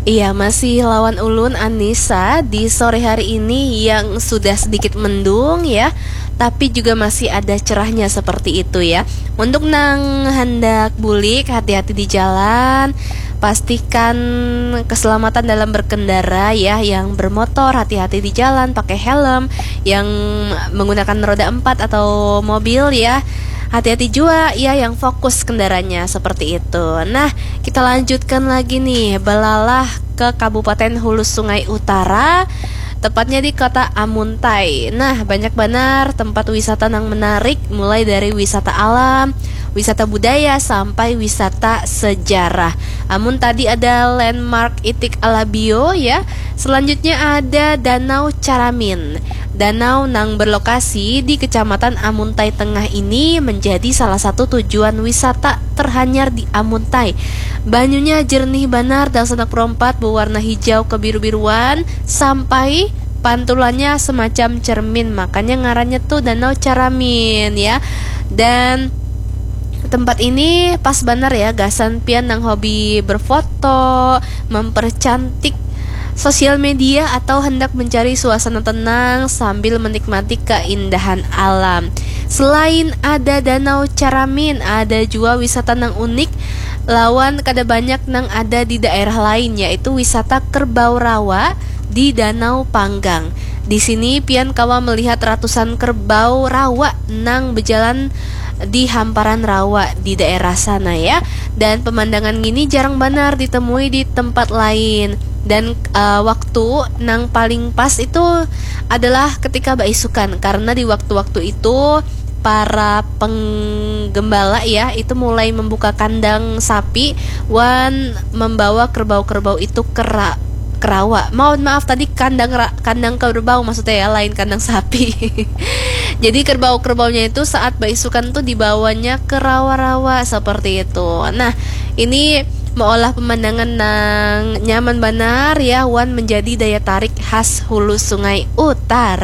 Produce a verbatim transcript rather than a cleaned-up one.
Iya, masih lawan ulun Anissa di sore hari ini yang sudah sedikit mendung ya, tapi juga masih ada cerahnya seperti itu ya. Untuk nang hendak bulik, hati-hati di jalan, pastikan keselamatan dalam berkendara ya, yang bermotor hati-hati di jalan, pakai helm, yang menggunakan roda empat atau mobil ya, hati-hati juga ya yang fokus kendaraannya seperti itu. Nah, kita lanjutkan lagi nih, belalah ke Kabupaten Hulu Sungai Utara, tepatnya di kota Amuntai. Nah, banyak banar tempat wisata yang menarik, mulai dari wisata alam, wisata budaya, sampai wisata sejarah. Amun tadi ada landmark Itik Alabio ya, selanjutnya ada Danau Caramin. Danau nang berlokasi di Kecamatan Amuntai Tengah ini menjadi salah satu tujuan wisata terhanyar di Amuntai. Banyunya jernih banar, dasana kerompat, berwarna hijau kebiru-biruan, sampai pantulannya semacam cermin, makanya ngarannya tuh Danau Caramin ya. Dan tempat ini pas banar ya gasan pian nang hobi berfoto, mempercantik sosial media, atau hendak mencari suasana tenang sambil menikmati keindahan alam. Selain ada Danau Caramin, ada juga wisata nang unik lawan kada banyak nang ada di daerah lain, yaitu wisata Kerbau Rawa di Danau Panggang. Di sini pian kawa melihat ratusan kerbau rawa nang berjalan di hamparan rawa di daerah sana ya. Dan pemandangan gini jarang banar ditemui di tempat lain. Dan uh, waktu nang paling pas itu adalah ketika baisukan, karena di waktu-waktu itu para penggembala ya itu mulai membuka kandang sapi wan membawa kerbau-kerbau itu ke ra- ke rawa. Mohon maaf, tadi kandang ra- kandang kerbau maksudnya ya, lain kandang sapi. Jadi kerbau-kerbaunya itu saat baisukan tuh dibawanya ke rawa-rawa seperti itu. Nah, ini meolah pemandangan nang nyaman banar ya wan menjadi daya tarik khas Hulu Sungai Utara.